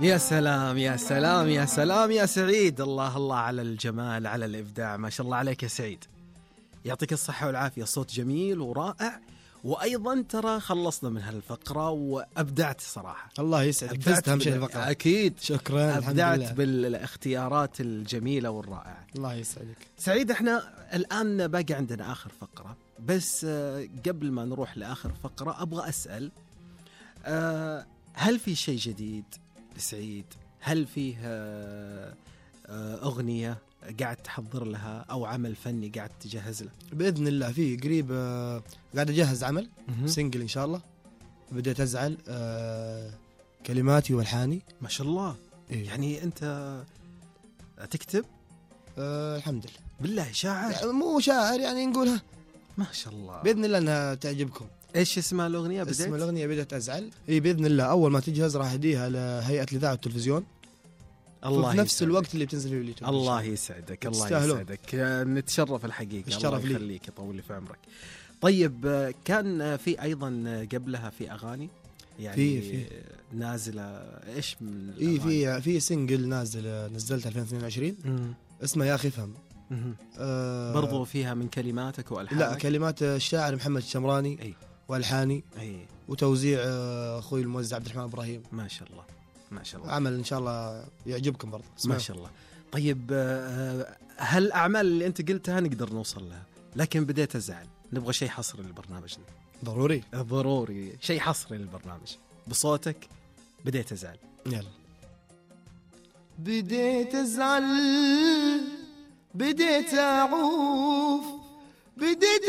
يا سلام يا سلام يا سلام يا سعيد، الله الله على الجمال، على الإبداع، ما شاء الله عليك يا سعيد. يعطيك الصحة والعافية، صوت جميل ورائع. وأيضا ترى خلصنا من هالفقرة وأبدعت صراحة. الله يسعدك، فزت أهم شيء الفقرة. أكيد شكرا، أبدعت بالاختيارات الجميلة والرائعة. الله يسعدك سعيد. احنا الآن باقي عندنا آخر فقرة، بس قبل ما نروح لآخر فقرة أبغى أسأل، هل في شيء جديد لسعيد؟ هل فيه أغنية قاعد تحضر لها أو عمل فني قاعد تجهز له؟ بإذن الله في قريب قاعد أجهز عمل سينجل إن شاء الله. بديت أزعل كلماتي والحاني. ما شاء الله. إيه؟ يعني أنت تكتب؟ الحمد لله. بالله شاعر؟ يعني مو شاعر، يعني نقولها. ما شاء الله. بإذن الله أنها تعجبكم. إيش اسمها الأغنية؟ اسم الأغنية بديت أزعل. إيه بإذن الله أول ما تجهز راح أديها لهيئة الإذاعة والتلفزيون. الله في نفس الوقت اللي بتنزل فيه اليوتيوب. الله يسعدك، الله يسعدك، نتشرف الحقيقة. الشرف الله يخليك، يطول لي في عمرك. طيب كان في أيضا قبلها في أغاني يعني في نازلة إيش من إيه في سينجل نزلت 2022 اسمه يا أخي فهم. برضو فيها من كلماتك وألحانك؟ لا، كلمات الشاعر محمد الشمراني. أي. والحاني. أي. وتوزيع اخوي الموزع عبد الرحمن ابراهيم. ما شاء الله ما شاء الله. عمل ان شاء الله يعجبكم برضه. ما شاء الله. طيب هالأعمال اللي انت قلتها نقدر نوصل لها، لكن بديت أزعل، نبغى شيء حصري لبرنامجنا. ضروري شيء حصري للبرنامج بصوتك. بديت أزعل. يلا. بديت أزعل، بديت أعوف، بديت